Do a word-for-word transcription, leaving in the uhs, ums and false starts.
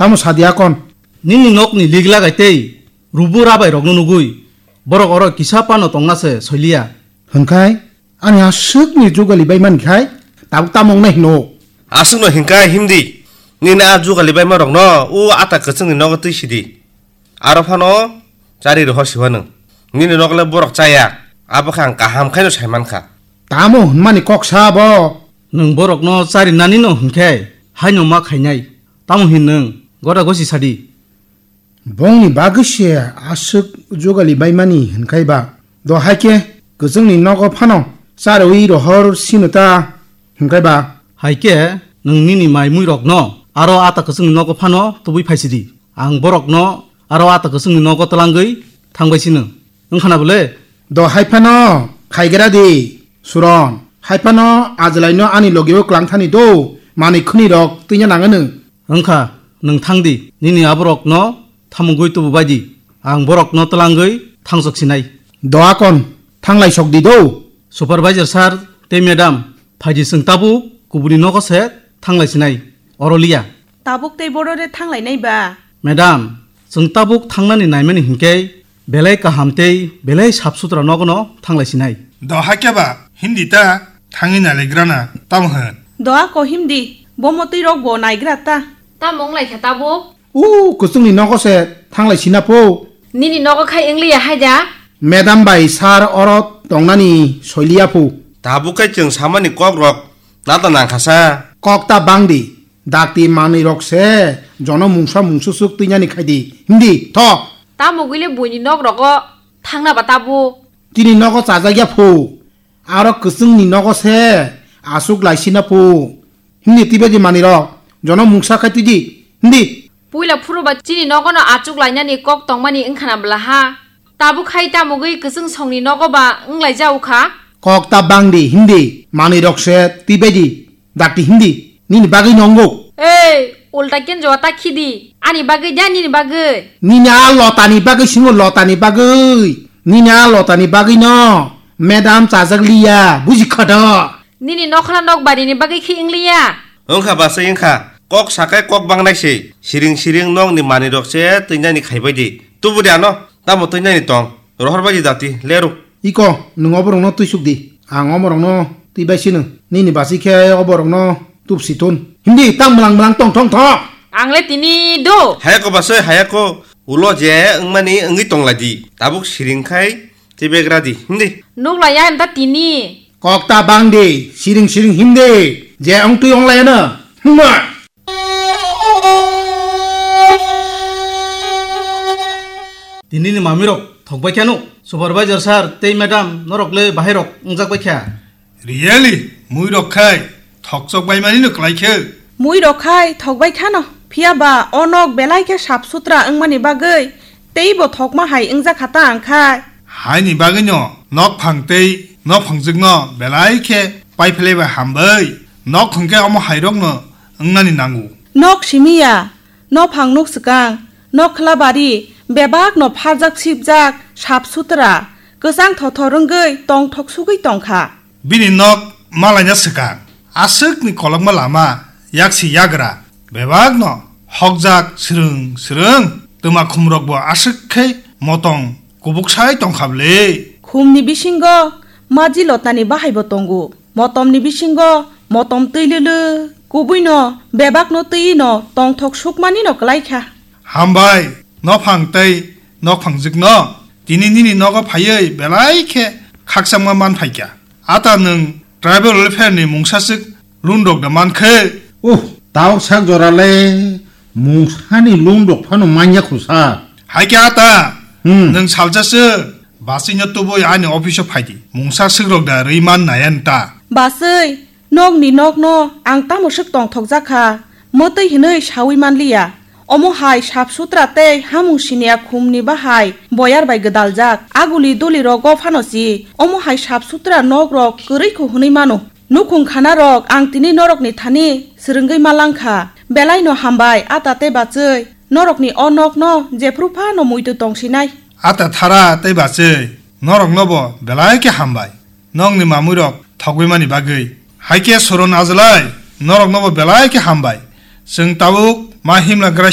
Tamo sadi akon? Nini nokni lig lagai tei rubu rabai rokno nugui, borok oro kisa pano tongna se soiliya. Hwnkhai ani aswkni jugali bai mankhai tabuk tamo wngnai hino? Aswkno hinkhai himdi, nini a jugali bai ma rokno u ata kwchwngni nogo twi sidi. Aro phano chari rohor siwa nwng. Nini nokle borok chaya, abo khe ang kaham khaino sai mankha. Tamo hwnmani kok sa bo? Nwng borokno charinani no hwnkhe haino ma khainai. Tamo hin nwng gora gosi sadi. Bongni bagwi se aswk jugali baimani hwnkhai ba? Do hai khe kwchwngni nogo phano chariwi rohor sino ta hwnkhai ba? Hai khe nwng nini mai mui rokno aro ata kwchwngni nogo phano tubui phaisidi. Ang borokno aro ata kwchwngni nogo twlangwi thangbai sino. Wngkhana bole? Do hai phano khaigra di, Suron. Hai phano ajlaino ani logio kwlang thani do, manwi khwnwi rok twinya nangano. Wngkha, nwng thang di, nini aborokno thamungwi tubu bai di. Ang borokno twlangwi thangsok sinai. Do akon, thanglai sok di do. Supervisor sir tei madam, phaidi chwng tabuk kubuni nogo se thanglai sinai. Oro liya. Tabuk tei borore thanglainai ba? Madam, chwng tabuk thangnani naimani hinkhe belai kaham tei belai sap sutra nogono thanglai sinai. Do hakhe ba, himdi ta, thangwi nailagrana, tamo hwn? Do ako himdi, bo motwi rok bo naigra ta. Tamo wng lai kha tabuk? U, kwchwngni nogo se thanglai sina pho. Nini nogo khai wng liya hai da? Madam bai sir oro tongnani soiliya pho. Tabuk khai chwng samani kok rok nata nang kha sa. Kok ta bang di. Dakti manwi rok se jono mungsa mungsu suk twi nani khai di. Himdi, tho. Tamo gwi le buini nok rogo thangna ba tabuk? Tini nogo chajak ya pho. Aro kwchwngni nogo se aswk lai sina pho. Himdi twi bai di manwi rok. Jono mungsa khai twi di. Himdi. Puila phuru ba chini nogo no achuk lainani kok tongmani wngkhana bwla ha. Tabuk khai tamo gwi kwchwng songni nogo ba wng lai ja ukha. Kok ta bang di, himdi. Manwi rok se twi bai di. Dakti himdi, nini bagwi nongo. Ei, ulta kenjoa ta khidi. Ani bagwi da nini bagwi? Nini a lotani bagwi singo, lotani bagwi. Nini a lotani bagwi no madam chajak liya, buji kha do? Nini nokhla nok barini bagwi khi wng liya? Wngkha basai wngkha. Kok sakai kok bangnai se. Siring siring nokni manwi rok se twinani khaibai di. Tubu de ano. Tamo twinani tong. Rohor bai di dati. Leru. Iko, nwng oborokno twisuk di. Ang omorokno twi bai sino. Nini basi khe oborokno tubsi tun. Hindi tang mlang mlang tong thong thong. Ang le tini do. Hayako basoi hayako. Ulo je wngmani wngwi tong lai di. Tabuk siring khai tei begra di. Hindi. Nuk lai ya da tini. Kok ta bang di. Siring siring hindi. Je wng twi wng lai ano. Hma. Tinini mamirok thokbai kheno, supervisor sir tei madam norok le bahairok wngjak bai kha. Really? Muirok khai thokchok bai mani no klai khe? Muirok khai thokbai khano, phiya ba o nok belai khe sap sutra wngmani bagwi teibo thokma hai wngjak kha ta ang khai. Haini bagwino nokphang tei nophangjwkno belai khe paiphlaiba hambai. Nok hwnkhe omo hairokno wngnani nango. Nok simi ya, nophang nuk swkang, nokhla bari, bebakno pharjak sipjak, sap sutra, kwchang thothor wngwi tongthok sugwi tongkha. Bini nok malaina swkang, aswkni kolokma lama, yaksi yagra, bebakno hokjak swrwng swrwng, twma khumrokbo aswk khe motong kubuk sai tongkha bwle. Khumni bisingo maji lotani bahaibo tongo, motomni bisingo motom twi lwlwk, kubuino bebakno twiwi no tongthok sukmani no kwlai kha. Hambai, nophang tei nokphangjwkno tini nini nogo phaiwi belai khe khakchangma man phaikha. Ata nwng tribal welfare ni mungsaswk loan rok da mankhe? Uh, tao sak jora le mungsani loan rok phano manya kho sa. Hai khe ata, hmm, nwng salsa se baswi no tubui ani office o phaidi. Mungsaswk rok da rwi man naya nta. Baswi, nokni nokno ang tamo swk tongthok jakha, mwtwi hinwi sawi manliya. Omo hai sap sutra tei hamung siniya khumni bahai boyar bai gwdaljak. Aguli duli rogo phano si omo hai sap sutra nok rok kwrwi kho hwnwi mano. Nukhung khana rok ang tini norokni thani swrwngwi ma langkha. Belai no hambai, ata tei bachwi. Norokni o nok no jephru phano muitu tong sinai. Ata thara tei bachwi, norok no bo belai khe hambai. Nokni mamui rok thogwi mani bagwi. Hai khe Soron Ajlai, norok no bo belai khe hambai. Chwng tabuk ma himla graisa